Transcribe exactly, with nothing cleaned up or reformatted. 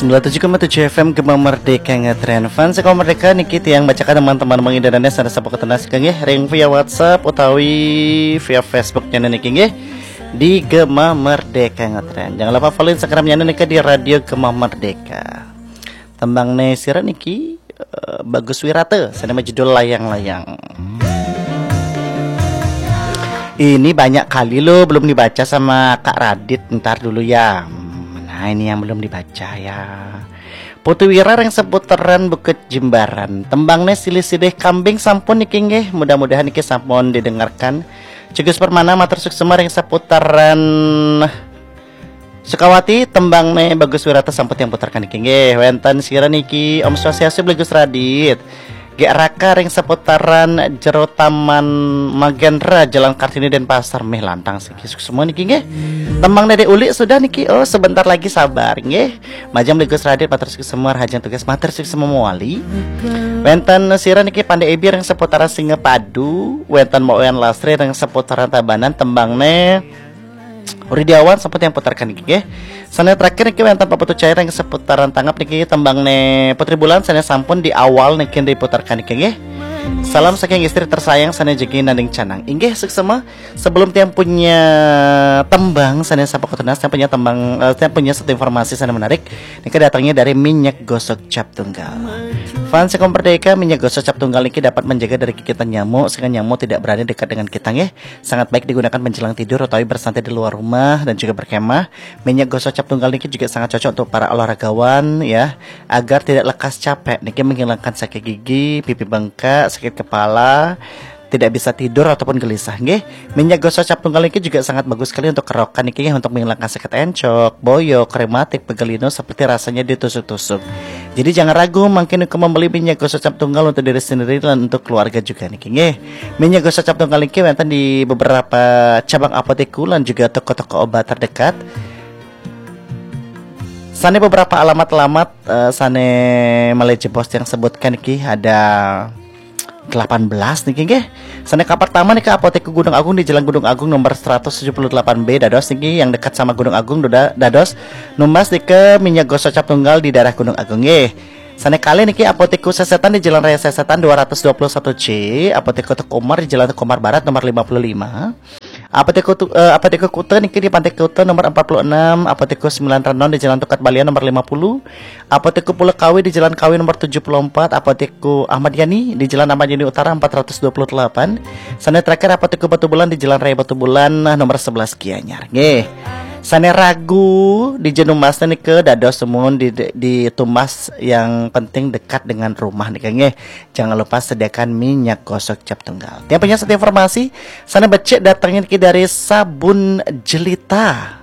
Dua tujuh koma tujuh F M Gema Merdeka ngetren. Fans Gema Merdeka niki tiang bacakan teman-teman mengidanane sana sapa ketenas nggih ring via WhatsApp utawi via Facebook nyana niki nggih di Gema Merdeka ngetren. Jangan lupa follow Instagramnya niki di Radio Gema Merdeka. Tembang ne sira niki eh, Bagus Wirata, sana judul Layang-Layang. Ini banyak kali loh belum dibaca sama Kak Radit. Ntar dulu ya. Hmm, nah, ini yang belum dibaca ya. Putu Wira ring seputaran Bukit Jimbaran. Tembangne silih-silih kambing sampun niki nggih. Mudah-mudahan niki sampun didengarkan. Cugus Permana matur suksema ring seputaran Sukawati, tembangne Bagus Wirata sampun tiang putarkan niki nggih. Wenten sira niki Om Swastiastu Bagus Radit. Gek Raka ring seputaran Jero Taman Magendra, Jalan Kartini, Denpasar, meh lantang siki suksema niki nggih. Tembang Dedek Ulik sudah niki. Oh, sebentar lagi sabar nggih. Majeng Bagus Radit matur suksema, Rahajeng Tugas matur suksema mawali. Wenten sira niki Pande Ebi ring seputaran Singapadu, wenten Mbok Wayan Lasri ring seputaran Tabanan, tembangne Uridiawan sampun tiang putarkan niki nggih. Sane terakhir niki wenten Pak Putu Cair ring seputaran Tangap niki, tembangne Putri Bulan sane sampun di awal niki diputarkan niki nggih. Salam saking istri tersayang sane jagi nanding canang. Inggih suksema. Sebelum tiang punya tembang sane sapa ketunas, tiang punya tembang, eh, tiang punya satu informasi sane menarik. Niki datangnya dari minyak gosok cap tunggal. Fans Gema Merdeka, minyak gosok cap tunggal niki dapat menjaga dari gigitan nyamuk sehingga nyamuk tidak berani dekat dengan kita nggih. Sangat baik digunakan menjelang tidur atau bersantai di luar rumah dan juga berkemah. Minyak gosok cap tunggal niki juga sangat cocok untuk para olahragawan ya, agar tidak lekas capek. Niki menghilangkan sakit gigi, pipi bengkak, sakit kepala, tidak bisa tidur ataupun gelisah nggih. Minyak gosok cap tunggal niki juga sangat bagus sekali untuk kerokan niki nggih, untuk menghilangkan sakit encok, boyok, rematik, pegal linu seperti rasanya ditusuk-tusuk. Jadi jangan ragu mangkin ke membeli minyak gosok cap tunggal untuk diri sendiri dan untuk keluarga juga niki nggih. Minyak gosok cap tunggal niki wenten di beberapa cabang apotek lan juga toko-toko obat terdekat. Sane beberapa alamat-alamat eh, sane malih jebos tiang sebutkan niki ada delapan belas niki nggih. Sane kapertama niki Apotek Gunung Agung di Jalan Gunung Agung nomor seratus tujuh puluh delapan B, dados niki yang dekat sama Gunung Agung, da-, dados numbas niki minyak gosok cap tunggal di daerah Gunung Agung nggih. Sane kalih niki Apotek Sesetan di Jalan Raya Sesetan dua ratus dua puluh satu C, Apotek Teuku Umar di Jalan Teuku Umar Barat nomor lima puluh lima. Apotek Kutu, eh, Apotek Kuta niki di Pantai Kuta nomor empat puluh enam, Apotek Sembilan Renon di Jalan Tukad Balian nomor lima puluh, Apotek Pulau Kawi di Jalan Kawi nomor tujuh puluh empat, Apotek Ahmad Yani di Jalan Ahmad Yani Utara empat ratus dua puluh delapan. Sane terakhir Apotek Batubulan di Jalan Raya Batubulan, nah, nomor sebelas Gianyar. Nggih. Sane ragu di Jenumas niki dados semun di, di tumbas yang penting dekat dengan rumah niki nggih. Jangan lupa sediakan minyak gosok cap tunggal. Tiang punya satu informasi, sane becik datangnya niki dari Sabun Jelita.